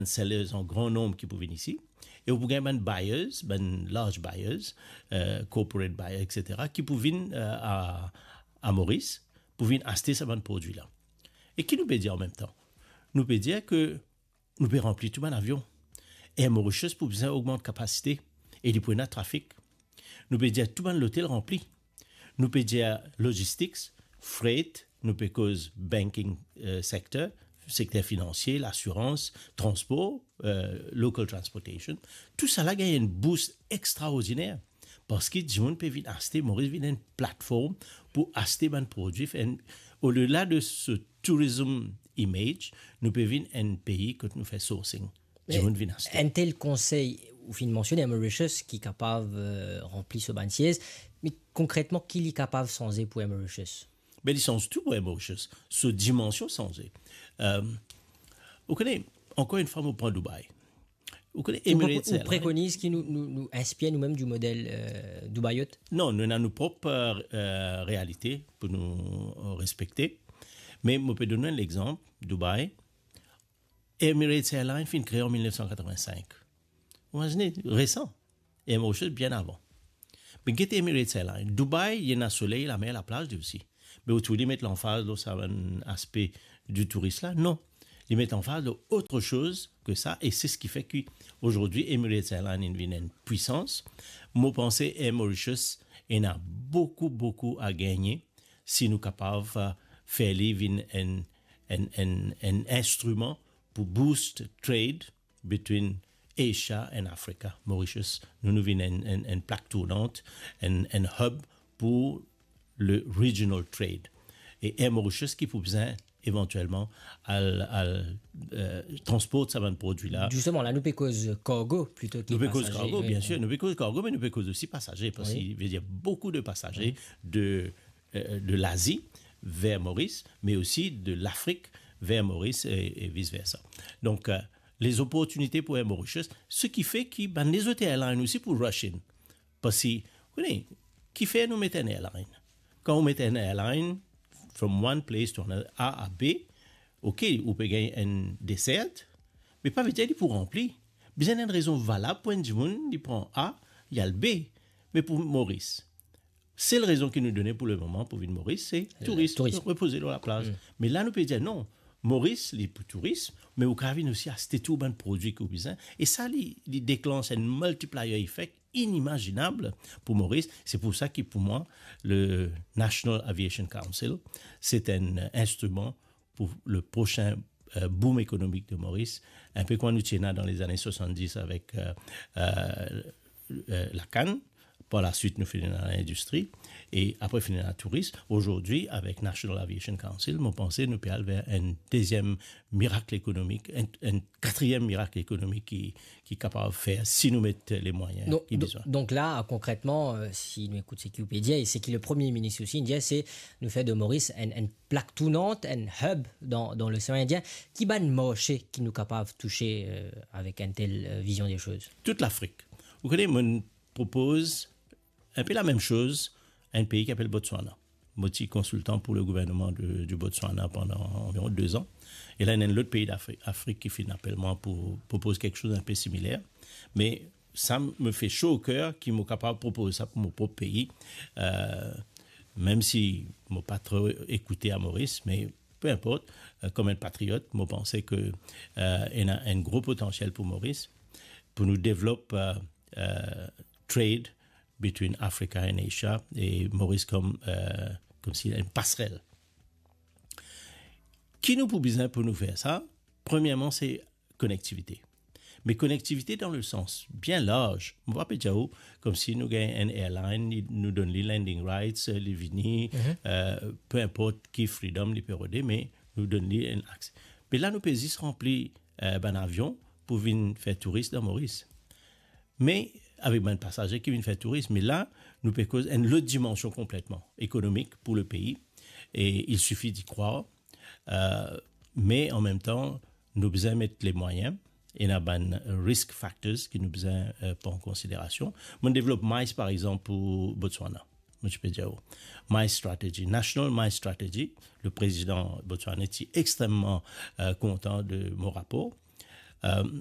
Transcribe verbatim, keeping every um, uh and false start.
sellers an gran nonb ki pou vinn isi, e ou pou gagn bann buyers, bann large buyers, eh, corporate buyer, et cetera, ki pou vinn, eh, a, a Moris, pou vinn aste sa bann prodwi la. E ki nou pe dir an mem tan? Nou pe dir ke nou pe ranpli tou bann avion. Air Mauritius pou bizin ogmant kapasite e li pou ena trafik. Nou pe dir tou bann lotel ranpli. Nou pe dir logistics, freight, nou pe koz banking, eh, sector, sekter finansie, lasirans, transpor, eh, local transportation. Tousala gagn enn boost extraordiner. Parski dimoun pe vinn aste, Moris vinn enn platform pou aste bann prodwi. Enn, odela de se tourism image, nou pe vinn enn pei kot nou fer sourcing. Me dimoun vinn aste. Enn tel konsey, ou finn mansione Air Mauritius ki kapav, eh, ranpli so bann siez, me konkretman, ki li kapav sanze pou Air Mauritius? Be, li sanz tou pou Air Mauritius. So dimansion sanze. Eh, ou kone, ankor enn fwa, mo pran Dubai. Ou kone, ou Emirates Airlines. Ou prekoniz ki nou, nou, nou inspir nou mem di model, eh, Dubaïot? Non, nou ena nou prop, eh, realite pou nou, eh, respekte. Me mo pe donn enn lexanp, Dubai. Emirates Airlines finn kree an mil nef san katrovin-sink. Ou imazine, resan. Air Mauritius bien avan. Me get Emirates Airlines. Dubai, li ena soley, lamer, laplaz li osi. Me ou trouv li met lanfaz lor sa bann aspe di touris la? Non. Li met lanfaz lor ot soz ke sa, e se seki fer ki azordi Emirates Airlines inn vinn enn pwisans. Mo panse Air Mauritius ena boukou, boukou a gagne si nou kapav, eh, fer li vinn enn, enn, enn, enn instriman pou boost trade between Asia and Africa. Mauritius, nou, nou vinn enn, enn, enn plak tournant, enn, enn hub pou le regional trade. E Air Mauritius ki pou bizin evantielman al, al, eh, transport sa bann prodwi la. Zisteman, la, nou pe koz kargo plito ki pasaze. Nou pe koz kargo, wi, bien sir. Nou pe koz kargo, me nou pe koz osi pasaze, parski, wi, i ve dir boukou de pasaze, wi, de, eh, de Lazi ver Moris, me osi de Lafrik ver Moris e, e vice versa. Donk, eh, les opportunités pour Air Mauritius, seki fer ki bann lezot airline osi pou rush in. Parski, ou kone, kifer nou met enn airline? Kan ou met enn airline from one place to another, A a B, ok, ou pe gagn enn desert, me pa ve dir li pou ranpli. Bizin enn rezon valab pou enn dimoun, li pran A, li al B. Me pou Moris, sel rezon ki nou done pou lemoman pou vinn Moris, se, eh, touris, touris, repoze lor laplaz. Mm. Me la, nou pe dir non, Moris, li pou touris, me ou kapav vinn osi aste tou bann prodwi ki ou bizin. E sa, li, li deklanse enn multiplier effect inimaginab pou Moris. Se pou sa ki, pou mwa, le National Aviation Council, se enn instriman pou le prosin, eh, boom ekonomik de Moris. Enpe kouma nou ti ena dan lezane swasanndis avek, eh, eh, eh, lakann, par laswit nou finn ena lindistri, e apre finn ena touris. Azordi, avek National Aviation Council, mo panse nou pe al ver enn deziem mirak ekonomik, enn, enn katriem mirak ekonomik ki, ki kapav fer si nou met lemwayin ki bizin. Donk, donk la, konkretman, eh, si nou ekout seki ou pe dir, e seki le Premie Minis osi inn dir, se nou fer de Moris enn, enn plak tournant, enn hub dan, dan Losean Indien. Ki bann marse ki nou kapav touse, eh, avek enn tel, eh, vizion de soz? Tout Lafrik. Ou kone, mo propoz enpe lamem soz a enn pei ki apel Botswana. Mo ti konsiltan pou le gouvernman de, di Botswana pandan anviron de zan. E la, ena enn lot pei Afri-, Afrik ki finn apel mwa pou propoz kiksoz enpe similer. Me sa mo fer so o ker ki mo kapav propoz sa pou mo prop pei. Eh, mem si mo pa tro ekoute a Moris, me pe inport, eh, kom enn patriot, mo panse ke, eh, ena enn gro potansiel pou Moris, pou nou devlop, eh, eh, trade between Africa and Asia, e Moris kom, eh, komsi enn pasrel. Ki nou pou bizin pou nou fer sa? Premierman, se konektivite. Me konektivite dan le sans bien larz. Mo pa pe dir ou komsi nou gagn enn airline, li, nou donn li landing rights, li vini, eh, pe inport ki freedom li pe rode, me nou donn li enn akse. Me la, nou pe zis ranpli, eh, bann avion pou vinn fer touris dan Moris. Me avek bann pasaze ki vinn fer touris, me la, nou pe koz enn lot dimansion konpletman ekonomik pou le pei, e il suffit d'y croire. Eh, me an mem tan, nou bizin met lemwayin, ena bann risk factors ki nou bizin, eh, pran an konsiderasion. Mo'nn devlop MICE, par exanp, pou Botswana. Mo ti pe dir ou, MICE strategy, National MICE strategy, le prezidan botswanais ti extrememan, eh, kontan de mo rapor. Euh,